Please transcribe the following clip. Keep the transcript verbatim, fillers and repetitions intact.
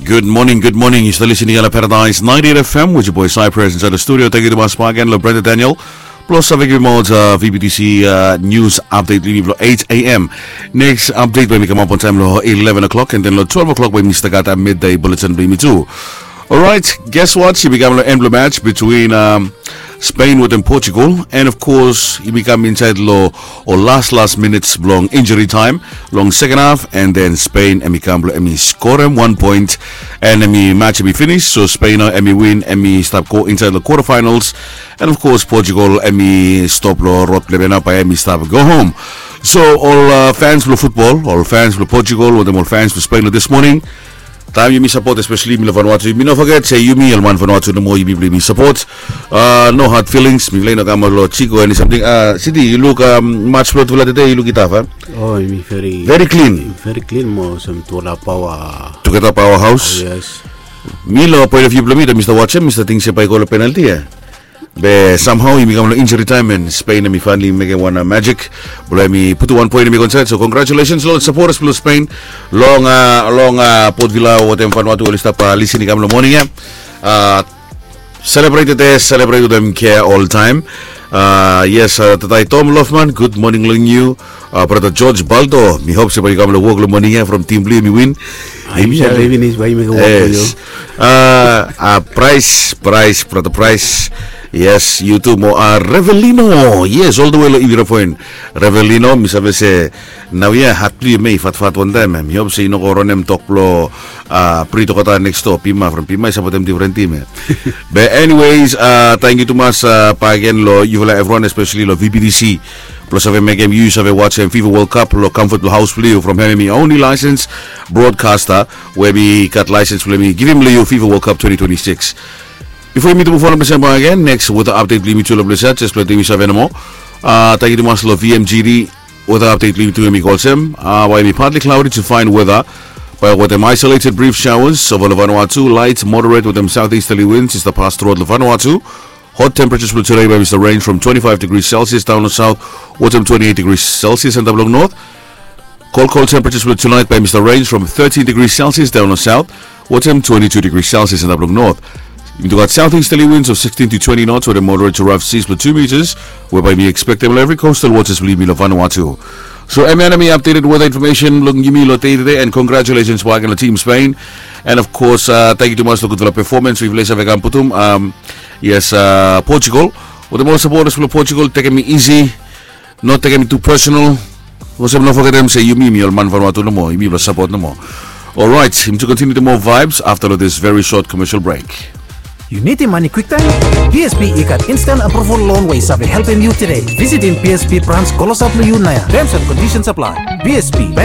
Good morning, good morning. Yu stap listening long Paradise ninety-eight F M with your boy Cypress inside the studio. Thank you to Mas Pagan, lo Brenda Daniel. Plus, save givim out uh, V B T C uh, news update lini blo eight a.m. Next update bae mi kamap on time lo eleven o'clock, and then lo twelve o'clock bae mi stap gat uh, midday bulletin blo yumi tu. Alright, guess what? Yumi kam lo end blo match between um, Spain wetem Portugal, and of course yumi kam inside lo ol las las minutes blong injury time long second half, and then Spain hemi kam blo hemi skorem one point, and hemi match hemi finish. So Spain nao hemi win, hemi stap go inside lo quarterfinals, and of course Portugal hemi stop lo rod blo hemi nao bae hemi stap go home. So ol uh, fans blo futbol, ol fans blo Portugal wetem ol fans blo Spain lo this morning, taem yumi sapot, especially yumi lo Vanuatu, yumi no foget se yumi ol man Vanuatu nomo, yumi blo yumi sapot. Uh, no hard feelings, mi blo i no kam lo Chico eni samting. Uh, Siti, yu luk um, match blo tufala tede, yu luk i taf a? Oh, yumi very, very clean. Very clean mo olsem tufala paoa. Tugeta paoa haos. Oh, yes. Mi lo point of view blo mi, taem mi stap wajem, mi stap ting se bae i go lo penalty a. Be somehow yumi kam lo injury time and Spain hemi finally mekem wan uh, magic blo hemi putum wan point hemi go inside. So congratulations lo ol supporters blo Spain long uh, long uh, Port Vila wetem Vanuatu, oli stap uh, listening kam lo morning ia. Uh, celebrate tede, celebrate wetem care all time. Uh, yes, uh, Tatai Tom Lofman, good morning long yu. Uh, brata George Baldo, mi hop se bae yu kam lo wok lo morning ia from tim blo yu hemi win. Hemi save finis bae yu mekem wok blo yu. Yes. Uh, uh, Price, Price, brata Price. Yes, yu tu mo uh, Revelino. Yes, all the way lo Ivi Rafoin. Revelino, mi save se naoia hat blo yu hemi fatfat wantaem ia. Mi hop se yu no go ronem tok blo uh, Pri Tokota next door, Pima from Pima i sapotem difren tim ia. Be anyways, uh, tangkiu tumas uh, bakegen lo yufala evriwan, especially lo V B T C, blo save mekem yu save wajem FIFA World Cup lo comfort blo haos blo yu from hemi, hemi only license broadcaster we hemi gat license blo hemi givim lo yu FIFA World Cup twenty twenty-six. Bifo yumi tu move on lo ples ia bakegen, next weather update blo yumi tu lo ples ia, jes blo taem yu save nomo. Uh, tangkiu tumas lo V M G D, weather update blo yumi tu hemi go olsem, uh, bae hemi partly cloudy to fine weather, bae wetem isolated brief showers ova lo Vanuatu, light moderate wetem southeasterly winds i stap pas throughout lo Vanuatu. Hot temperatures blo tede bae hemi stap range from twenty-five degrees Celsius daon lo south wetem twenty-eight degrees Celsius antap lo north. Cold, cold temperatures blo tonight bae hemi stap range from thirteen degrees Celsius daon lo south wetem twenty-two degrees Celsius antap lo north. Yumi tu gat southeasterly winds of sixteen to twenty knots wetem moderate to rough seas blo two meters, we bae hemi expectem lo evri coastal waters blo yumi lo Vanuatu. So hemia nao hemi updated weather information blo yumi lo dei tede, and congratulations bakegen lo Team Spain. And of course, uh, tangkiu tumas lo gudfala performance we yufala i save kam putum. Um, yes, uh, Portugal, wetem ol supporters blo Portugal, tekem i easy. No tekem i tu personal. Olsem no fogetem se yumi, yumi ol man Vanuatu nomo, yumi blo sapot nomo. Alright, yumi tu continue tu moa vibes afta lo this very short commercial break. Yu nidim mane kwiktaem? P S B i gat instant approval loan we i save helpem yu tede. Visitim P S B branch klosap lo yu naoia. Terms and conditions apply. P S B Bank.